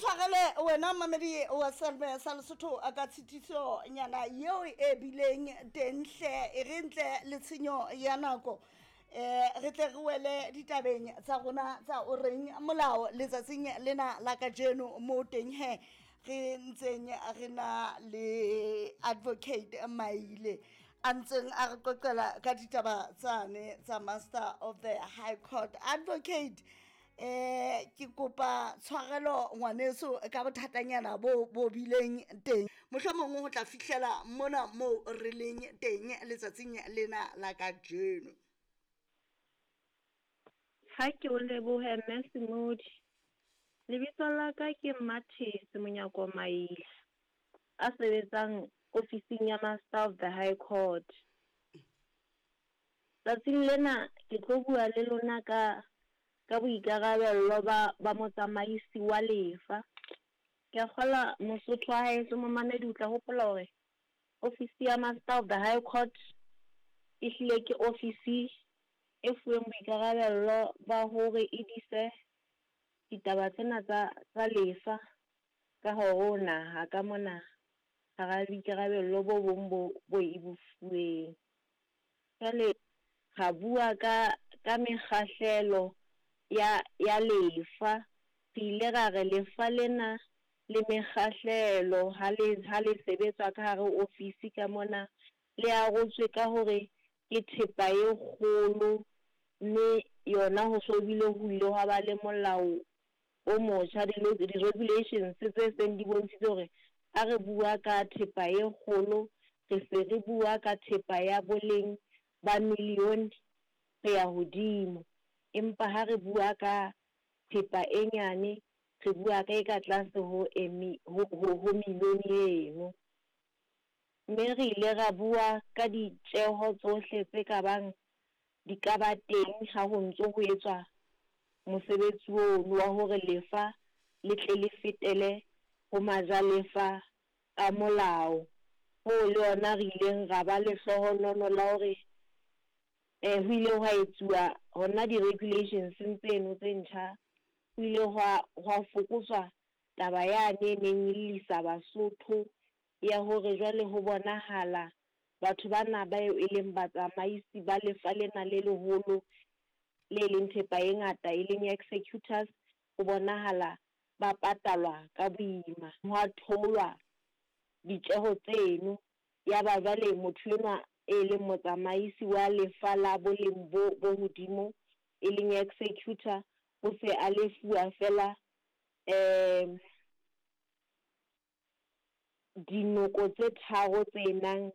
tshwarele wena mamedi wa Selme sa Lesotho ka tshitiso nyana yeo e bileng teng hle e re ntle le tshenyo ya nako eh re tle re wele ditabeng tsa rona tsa o reng molao letsatsing lena la kajeno mo teng he re ntseng re na le advocate Maile a ntseng a re qoqela ka ditaba tsane tsa master of the high court. Advocate, eh ke kopa tshwarelo ngwaneso ka bothatanyana bo bo bileng teng, mohlomong ho tla fihlela mona moo re leng teng letsatsing lena la kajeno. Ha ke o lebohe Mme Semodi. Lebitso la ka ke Mmathesi Monyako Maile, a sebetsang ofising ya Master of the High Court. Tsatsing lena ke tlo bua le lona ka ka boikarabello ba ba motsamaisi wa lefa. Ke a kgolwa Mosotho wa haeso momamedi o tla hopola hore ofisi ya Master of the High Court e hlile ke ofisi e fuweng boikarabello ba hore e dise ditaba tsena tsa tsa lefa ka hare ho naha ka mona hara boikarabello bo bong bo bo e bo fuweng. Jwale ra bua ka ka mekgahlelo ya ya lefa. Re ile ra re lefa lena le mekgahlelo ha le ha le sebetswa ka hare ho ofisi ka mona le arotswe ka hore ke thepa e kgolo, mme yona ho so bile ho ile hwa ba le molao o motjha, di-regulations tse seng di bontshitse hore ha re bua ka thepa e kgolo, re se re bua ka thepa ya boleng ba millione ho ya hodimo. Empa ha re bua ka thepa e nyane, re bua ka e ka tlase ho e ho ho millione eno. Mme re ile ra bua ka ditjeho tsohle tse ka bang di ka ba teng ha ho ntso ho etswa mosebetsi ono wa hore lefa le tle le fetele ho majalefa ka molao. Hoo le yona re ileng ra ba lehlohonolo la hore ho ile hwa etsuwa hona di-regulations-eng tseno tse ntjha, ho ile hwa hwa fokotswa taba yane e neng e llisa Basotho ya hore jwale ho bonahala batho bana bao e leng batsamaisi ba lefa lena le leholo le leng thepa e ngata e leng executors, ho bonahala ba patalwa ka boima. Hwa theolwa ditjeho tseno, ya ba jwale motho enwa e leng motsamaisi wa lefa la boleng bo bo hodimo e leng executor o se a lefuwa feela dinoko tse tharo tse nang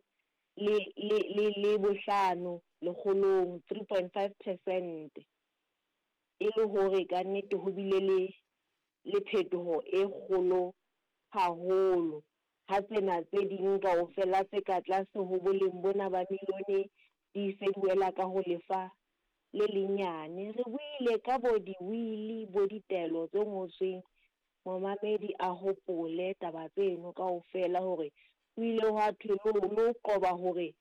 le le le le bohlano lekgolong, 3.5 percent. E le hore ka nnete ho bile le le phetoho e kgolo haholo ha tsena tse ding kaofela tse ka tlase ho boleng bona ba milione di se di wela ka ho lefa le lenyane. Re buile ka bo di-will-i bo ditaelo tse ngotsweng, momamedi a hopole taba tseno kaofela hore ho ile hwa thwe le ho qoba hore.